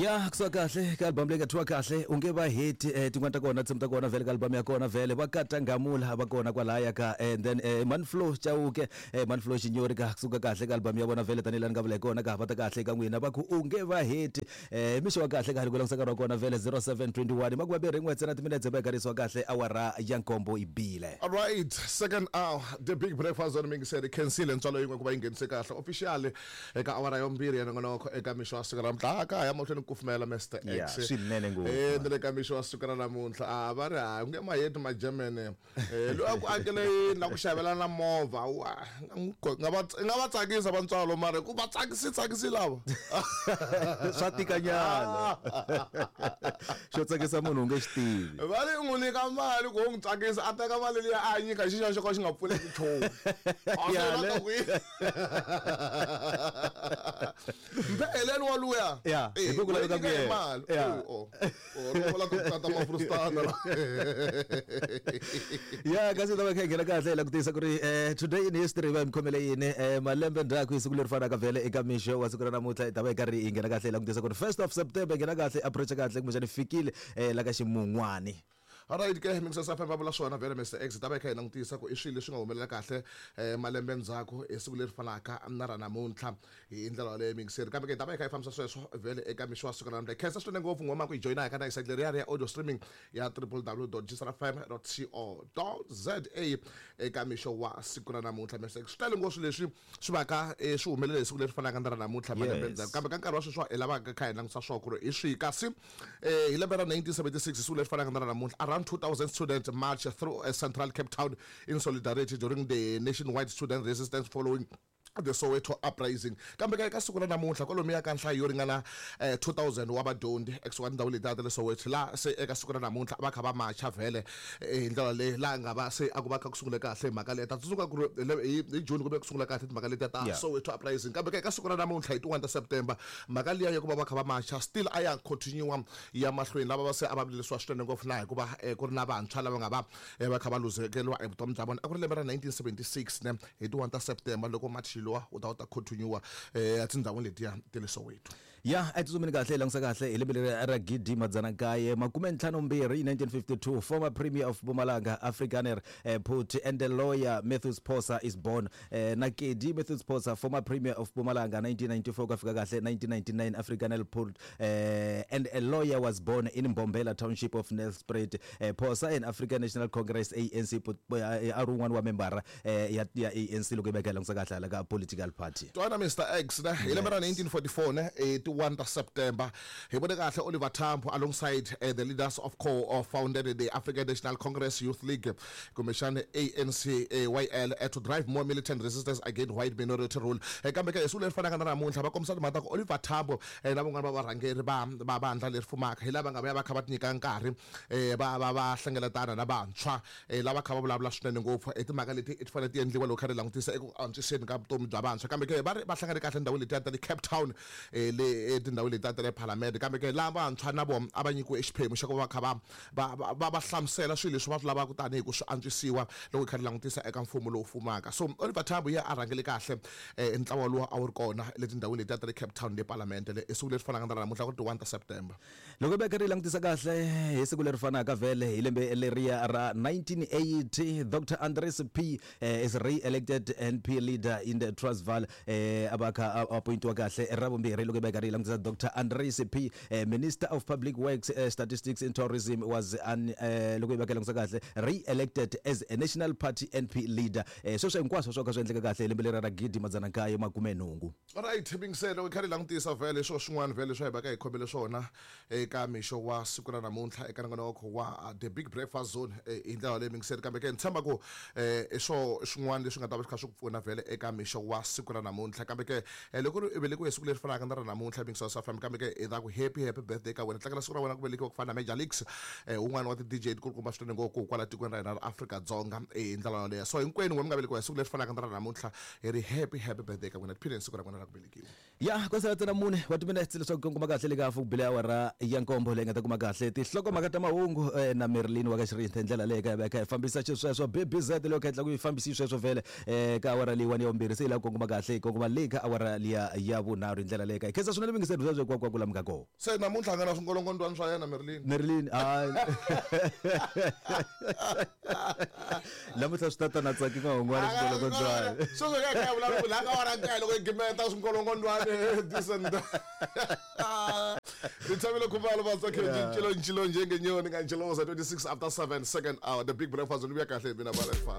Ya kusuka kahle ka album leyi nga thyiwa kahle u nge va heti tin'wana ta kona tinsimu ta kona vhele ka album ya kona vhele va kata ngamula va kona kwalaya ka and then Manflow Chauke Manflow Xinyori ka kusuka kahle ka album ya vona vhele tanihi laha ni nga vula hi kona ka va ta kahle ka n'wina va ku u nge va heti mixo wa kahle ka ha ri ku langutisa nkarhi wa kona vhele 0721 makumembirhi n'we ntsena timinetse va yi kahle awara ya nkombo yi bile. Alright, second hour, the big breakfast zone mingiseri khensile ntswalo yin'we ku va yi nghenise kahle officially eka awara ya vumbirhi ya nongonoko eka mixo wa siku ra namuntlha a ka ha ya mahlweni ku kufumela Mr Ya, X swinene ngopfu. Eh, ni le ka mixo wa siku ra namuntlha a va ri ha nge maheti ma-german Eh, loyi a ku akele yini na ku xavela na movha wa nga va nga va tsakisa vantswalo mara ku va tsakisi tsakisi lava swa tikanyana xo tsakisa munhu u nge xi tivi va ri n'wi nyika mali ku u n'wi tsakisa a teka mali liya a nyika xi xa xo ka xi nga pfuleki nchumu A Ya, swi le. lava ku yi- mpheleni wa luya Ya, Eh, hi ku ku laveka wa yi nyika ku hi yena. mali Ya. Oh, oh. Oh, ri vula ku tata mafrustana ya kasi ta va kha hi nghena kahle hi la ku tiyisa ku ri today in history va hi mi khomele yini malembe ndzhaku hi siku leri fanaka vhele eka mixo wa siku ra namuntlha hi ta va hi karhi hi nghena kahle hi la ku tiyisa ku ri 1st of September hi nghena kahle approach kahle kumbexani fikile la ka ximun'wani. Alright ke mingisasa FM va vula swona vhele Mr X ta va hi kha hi langutisa ku i swilo leswi nga humelela kahle malembe ndzhaku hi siku leri fanaka na ra namuntlha hi ndlela yaleyo mingiseri kambe ke hi ta va hi kha hi fambisa sweswo vhele eka mixo wa siku ra namuntlha hi khensa swinene ngopfu ngoma ku hi joyina hi ka na site leriya ya audio streaming ya www.gsrfm.co.za eka mixo wa siku ra namuntlha Mr X swi tele ngopfu leswi swi va ka swi humelele hi siku leri fanaka na ra namuntlha malembe Yes. ndzhaku kambe ka nkarhi wa sweswi hi lavaka kha hi langutisa swona ku ri hi swihi kasi hi lembe ra 1976 hi siku leri fanaka na ra namuntlha around 2000 students march through central Cape Town in solidarity during the nationwide student resistance following the Soweto uprising kambe ka eka siku ra namuntlha kwalomuya ka nhlayo yo ringana 2000 wa vadyondzi ekusuka tindhawu letiya ta le Soweto laha se eka siku ra namuntlha va kha va macha vhele hi ndlela leyi laha nga va se a ku va kha ku sungule kahle hi mhaka leyi ta tsundzuka ku ri hi June ku ve ku sungula kahle timhaka letiya ta Yeah. Soweto uprising kambe ka eka siku ra namuntlha hi ti 1 ta September mhaka liya ya ku va va kha va macha still a ya continue ya mahlweni lava va se a va vilelisiwa swinene ngopfu na hikuva ku ri na vantshwa lava nga va va kha va luzekeriwa evutomi bya vona a ku ri lembe ra 1976 ne hi ti 1 ta September loko machi lowa wu ta wu ta continue etindhawini letiya ta le Soweto. Ya a hi tsutsumeni kahle hi langutisa kahle hi lembe leri ra gidi madzana nkaye makume ntlhanu mbirhi 1952 former premier of Mpumalanga Afrikaner Phuthi and the lawyer Matthews Phosa is born Nakedi Matthews Phosa former premier of Mpumalanga 1994 ku fika kahle 1999 Afrikaner Phuthi and a lawyer was born in Mbombela township of Nelspruit Phosa and African National Congress ANC a ri wun'wana wa membara ya ANC loko yi veka hi langutisa kahle hala ka political party. Twana Mr X ne hi lembe ra 1944 ne ti 1 ta September hi vone kahle Oliver Tambo alongside the leaders of co-founded the African National Congress Youth League kumbexana ANC YL to drive more militant resistance against white minority rule kambe ke hi siku leri fanaka na namuntlha va kombisa timhaka ta ku Oliver Tambo na van'wana va varhangeri va va vandla leri fumaka hi lava nga vuya va kha va tinyika nkarhi va va va hlengeletana na vantshwa lava kha va vulavula swinene ngopfu hi timhaka leti ti fanele ti endliwa loko kha ri langutisa eku antswiseni ka vutomi bya vantshwa kambe ke va ri va hlangane kahle ndhawu letiya ta le Cape Town le etindhawini letiya ta le Parliament kambe ke laha vantshwa na vona a va nyikiwe xiphemu xa ku va kha va va va va hlamusela swilo leswi va swi lavaka tanihi ku swi antswisiwa loko hi kha ri langutisa eka mfumo lowu fumaka so Oliver Tambo ye a rhangele kahle ntlawa lowu a wu ri kona le tindhawini letiya ta le Cape Town le Parliament le i siku leri fanaka na ra namuntlha ku ri ti 1 ta September. Loko hi ri langutisa kahle hi siku leri fanaka vhele hi lembe leriya ra 1980 Dr Andries P is re-elected NP leader in the Transvaal a va kha a appointiwa kahle ra vumbirhi loko hi veka ri langutisa Dr Andries P Minister of Public Works Statistics and Tourism was an loko hi veka langutisa kahle re-elected as a National Party NP leader sweswo hinkwaswo swo ka swi endleka kahle hi lembe leri ra gidi madzana nkaye makume nhungu. Alright bingiselo hi kha ri langutisa vhele swo swin'wana vhele swa hi va ka hi khomele swona eka mixo wa siku ra namuntlha eka nongonoko wa The Big Breakfast Zone hi ndlela leyi mingiseri kambe ke ni tshemba ku i swo swin'wana leswi nga ta va swi kha swi ku pfuna vhele eka mixo wa siku ra namuntlha kambe ke loko ri velekiwe hi siku leri fanaka na ra namuntlha mingiselo sa fam kambe ke hi ta ku happy happy birthday ka wena tlangela siku ra wena ku velekiwa ku fana na Major Leagues un'wana wa ti DJ tikulukumba swinene ngopfu kwala tikweni ra hina ra Afrika-Dzonga hi ndlela yoleyo so hinkwenu n'we mi nga velekiwa hi siku leri fanaka na ra namuntlha hi ri happy happy birthday ka n'wina tiphine hi siku ra n'wina ra ku velekiwa. Ya ku sala ntsena mune wa timinetse leswaku ku kuma kahle le ka hafu ku bile awara ya nkombo leyi nga ta kuma kahle tinhlokomhaka ta mahungu na Marilyn wa ka Xirindza hi ndlela leyi ka hi va kha hi fambisa xisweswo BBZ leyo kha yi tla ku yi fambisi sweswo vhele ka awara leyiwani ya vumbirhi se yi lava ku kongoma kahle yi kongoma le ka awara liya ya vunharhu hi ndlela leyi ka hi khensa swinene. mingiseri sweswo kwakwa ku lamuka kona. Se namuntlha a nga na swingolongondwani swa yena Merlin. Merlin hayi. Namuntlha swi tata na tsaki nga swingolongondwani. Sweswo ka kha vulavula la ka wara nkaye loko i gimeta swingolongondwani this and that. Rithabile Khumalo Batsakhe ncilo ncilo njengenyoni ngantshiloza 26 after 7, second hour, the big breakfast. Lubuya kahle mina bale fa.